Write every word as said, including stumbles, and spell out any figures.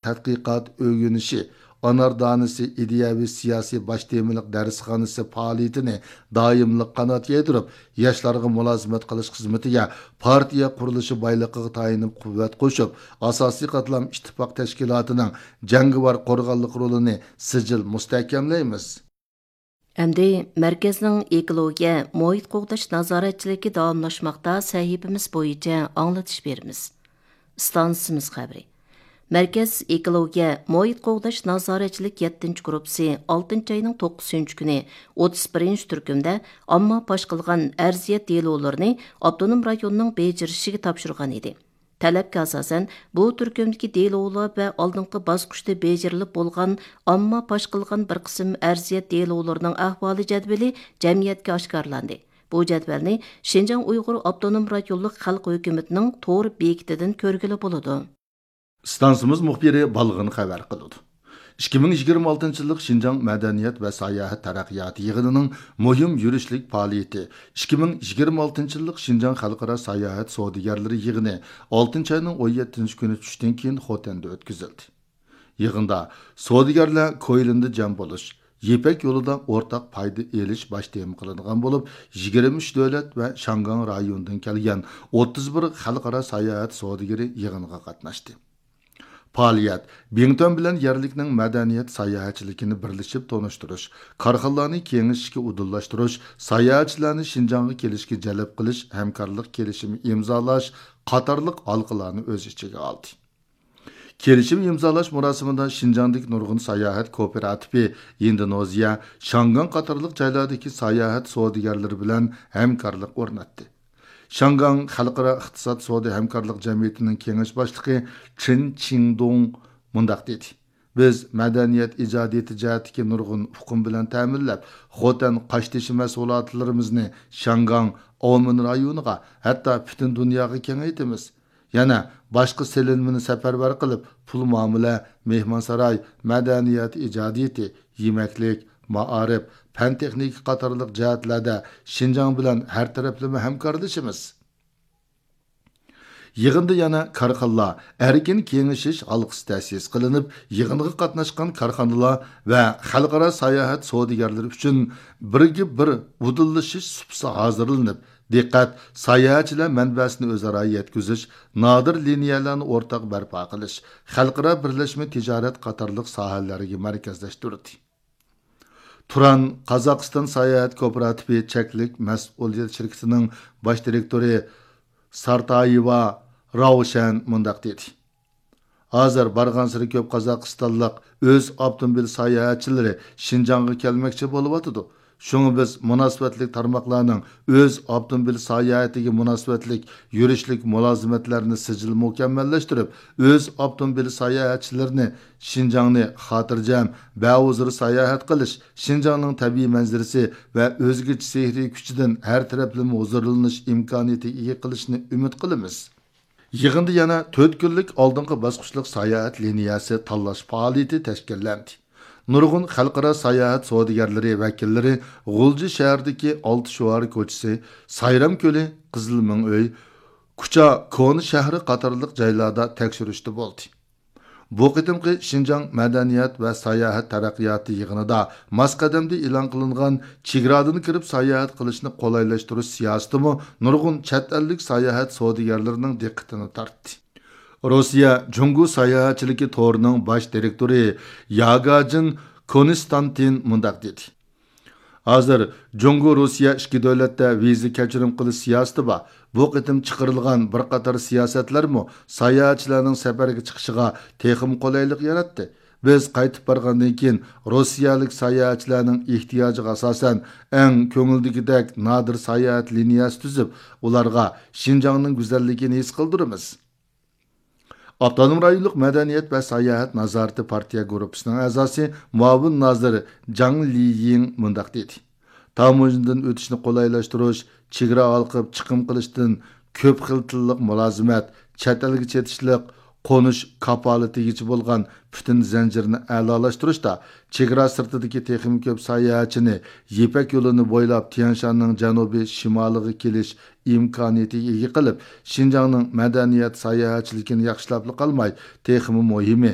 تەتقىقات ئۆگىنىشى، ئانار دانىسى ئىدىيەۋى سىياسىي باش تېمىلىق دەرسخانىسى پائالىيىتىنى دائىملىق قانات يايدۇرۇپ، ياشلارغا مۇلازىمەت قىلىش خىزمىتىگە پارتىيە قۇرۇلۇشى بايلىقىغا تايىنىپ قۇۋۋەت قوشۇپ، ئاساسىي قاتلام ئىتتىپاق تەشكىلاتىنىڭ جەڭگىۋار قورغانلىق رولىنى سىجىل مۇستەھكەملەيمىز. ئەمدى مەركەزنىڭ ئېكولوگىيە، مۇھىت قوغداش نازارەتچىلىكى داۋاملاشماقتا سەھىپىمىز بويىچە ئاڭلىتىش بېرىمىز. ئىستانسىمىز خەۋىرى. مەركەز ئېكولوگىيە، مۇھىت قوغداش نازارەتچىلىك يەتتىنچى گۇرۇپپىسى ئالتىنچى ئاينىڭ توققۇزىنچى كۈنى ئوتتۇز بىرىنچى تۈركۈمدە ئامما پاش قىلغان ئەرزىيەت دېلولىرىنى ئاپتونوم رايوننىڭ بېجىرىشىگە تاپشۇرغان ئىدى. تەلەپكە ئاساسەن، بۇ تۈركۈمدىكى دېلولار ۋە ئالدىنقى باسقۇچتا بېجىرىلىپ بولغان ئامما پاش قىلغان بىر قىسىم ئەرزىيەت دېلولىرىنىڭ ئەھۋالى جەدۋىلى جەمئىيەتكە ئاشكارىلاندى. بۇ جەدۋەلنى شىنجاڭ ئۇيغۇر ئاپتونوم رايونلۇق خەلق ھۆكۈمىتىنىڭ تور بېكىتىدىن كۆرگىلى بولىدۇ. ئىستانسىمىز مۇخبىرى بالغىن خەۋەر قىلىدۇ. ئىككى مىڭ يىگىرمە ئالتىنچى يىللىق شىنجاڭ مەدەنىيەت ۋە ساياھەت تەرەققىياتى يىغىنىنىڭ مۇھىم يۈرۈشلۈك پائالىيىتى ئىككى مىڭ يىگىرمە ئالتىنچى يىللىق شىنجاڭ خەلقئارا ساياھەت سودىگەرلىرى يىغىنى ئالتىنچى ئاينىڭ ئون يەتتىنچى كۈنى چۈشتىن كېيىن خوتەندە ئۆتكۈزۈلدى. يىغىندا سودىگەرلەر كويلىندا جەم بولۇش، يىپەك يولىدا ئورتاق پايدا ئېلىش باش تېما قىلىنغان بولۇپ، يىگىرمە ئۈچ دۆلەت ۋە شياڭگاڭ رايونىدىن كەلگەن ئوتتۇز بىر خەلقئارا ساياھەت سودىگىرى يىغىنغا قاتناشتى. پائالىيەت بىڭتۈەن بىلەن يەرلىكنىڭ مەدەنىيەت ساياھەتچىلىكىنى بىرلىشىپ تونۇشتۇرۇش، كارخانىلارنى كېڭىشىشكە ئۇدۇللاشتۇرۇش، ساياھەتچىلەرنى شىنجاڭغا كېلىشكە جەلپ قىلىش ھەمكارلىق كېلىشىمى ئىمزالاش قاتارلىق ھالقىلارنى ئۆز ئىچىگە ئالدى. كېلىشىم ئىمزالاش مۇراسىمىدا شىنجاڭدىكى نۇرغۇن ساياھەت كوپىراتىپى، ئىندونېزىيە، شياڭگاڭ قاتارلىق جايلاردىكى ساياھەت سودىگەرلىرى بىلەن ھەمكارلىق ئورناتتى. شياڭگاڭ خەلقئارا ئىقتىساد سودا ھەمكارلىق جەمئىيىتىنىڭ كېڭەش باشلىقى چېن چىڭدۇڭ مۇنداق دېدى: بىز مەدەنىيەت ئىجادىيىتى جەھەتتىكى نۇرغۇن ئۇقۇم بىلەن تەمىنلەپ، خوتەن قاشتېشى مەھسۇلاتلىرىمىزنى شياڭگاڭ، ئاۋمېن رايونىغا، ھەتتا پۈتۈن دۇنياغا كېڭەيتىمىز. يەنە باشقا سېلىنمىنى سەپەرۋەر قىلىپ، پۇل مۇئامىلە، مېھمانساراي، مەدەنىيەت ئىجادىيىتى، يېمەكلىك، مائارىپ، پەن تېخنىكا قاتارلىق جەھەتلەردە شىنجاڭ بىلەن ھەر تەرەپلىمە ھەمكارلىشىمىز. يىغىندا يەنە كارخانىلار ئەركىن كېڭىشىش ھالقىسى تەسىس قىلىنىپ، يىغىنغا قاتناشقان كارخانىلار ۋە خەلقئارا ساياھەت سودىگەرلىرى ئۈچۈن بىرگە بىر ئۇدۇللىشىش سۇپىسى ھازىرلىنىپ، دىققەت ساياھەتچىلەر مەنبەسىنى ئۆزئارا يەتكۈزۈش، نادىر لىنىيەلەرنى ئورتاق بەرپا قىلىش، خەلقئارا بىرلەشمە تىجارەت قاتارلىق ساھەلەرگە مەركەزلەشتۈردى. تۇران قازاقىستان ساياھەت كوپىراتىپى چەكلىك مەسئۇلىيەت شىركىتىنىڭ باش دىرېكتورى سارتايېۋا راۋشەن مۇنداق دېدى: ھازىر بارغانسېرى كۆپ قازاقىستانلىق ئۆز ئاپتوموبىل ساياھەتچىلىرى شىنجاڭغا كەلمەكچى بولۇۋاتىدۇ. شۇڭا بىز مۇناسىۋەتلىك تارماقلارنىڭ ئۆز ئاپتوموبىل ساياھىتىگە مۇناسىۋەتلىك يۈرۈشلۈك مۇلازىمەتلەرنى سىجىل مۇكەممەللەشتۈرۈپ، ئۆز ئاپتوموبىل ساياھەتچىلىرىنى شىنجاڭنى خاتىرجەم، بەھۇزۇر ساياھەت قىلىش، شىنجاڭنىڭ تەبىئىي مەنزىرىسى ۋە ئۆزگىچە سېھرىي كۈچىدىن ھەر تەرەپلىمە ھۇزۇرلىنىش ئىمكانىيىتىگە ئىگە قىلىشىنى ئۈمىد قىلىمىز. يىغىندا يەنە تۆت كۈنلۈك ئالدىنقى باسقۇچلۇق ساياھەت لىنىيەسى تاللاش پائالىيىتى تەشكىللەندى. نۇرغۇن خەلقئارا ساياھەت سودىگەرلىرى ۋەكىللىرى غۇلجا شەھىرىدىكى ئالتە شوئار كوچىسى، سايرام كۆلى، قىزىل مىڭ ئۆي، كۇچا كونا شەھىرى قاتارلىق جايلاردا تەكشۈرۈشتە بولدى. بۇ قېتىمقى شىنجاڭ مەدەنىيەت ۋە ساياھەت تەرەققىياتى يىغىنىدا ماس قەدەمدە ئېلان قىلىنغان چېگرادىن كىرىپ ساياھەت قىلىشنى قولايلاشتۇرۇش سىياسىتىمۇ نۇرغۇن چەت ئەللىك ساياھەت سودىگەرلىرىنىڭ دىققىتىنى تارتتى. روسىيە جۇڭگو ساياھەتچىلىكى تورىنىڭ باش دىرېكتورى ياگاجىن كونستانتىن مۇنداق دېدى: ھازىر جۇڭگو روسىيە ئىككى دۆلەتتە ۋىزا كەچۈرۈم قىلىش سىياسىتى بار. بۇ قېتىم چىقىرىلغان بىر قاتار سىياسەتلەرمۇ ساياھەتچىلەرنىڭ سەپەرگە چىقىشىغا تېخىمۇ قولايلىق ياراتتى. بىز قايتىپ بارغاندىن كېيىن روسىيەلىك ساياھەتچىلەرنىڭ ئېھتىياجىغا ئاساسەن ئەڭ كۆڭۈلدىكىدەك نادىر ساياھەت لىنىيەسى تۈزۈپ، ئۇلارغا شىنجاڭنىڭ گۈزەللىكىنى ھېس قىلدۇرىمىز. ئاپتونوم رايونلۇق مەدەنىيەت ۋە ساياھەت نازارىتى پارتىيە گۇرۇپپىسىنىڭ ئەزاسى، مۇئاۋىن نازىر جاڭ لىيىڭ مۇنداق دېدى: تاموژنىدىن ئۆتۈشنى قولايلاشتۇرۇش، چېگرا ھالقىپ چىقىم قىلىشتىن كۆپ خىل تىللىق مۇلازىمەت، چەت ئەلگە چېتىشلىق، قونۇش كاپالىتىگىچە بولغان پۈتۈن زەنجىرنى ئەلالاشتۇرۇشتا، چېگرا سىرتىدىكى تېخىمۇ كۆپ ساياھەتچىنى يىپەك يولىنى بويلاپ تيەنشاننىڭ جەنۇبىي شىمالىغا كېلىش ئىمكانىيىتىگە ئىگە قىلىپ، شىنجاڭنىڭ مەدەنىيەت ساياھەتچىلىكىنى ياخشىلاپلا قالماي، تېخىمۇ مۇھىمى،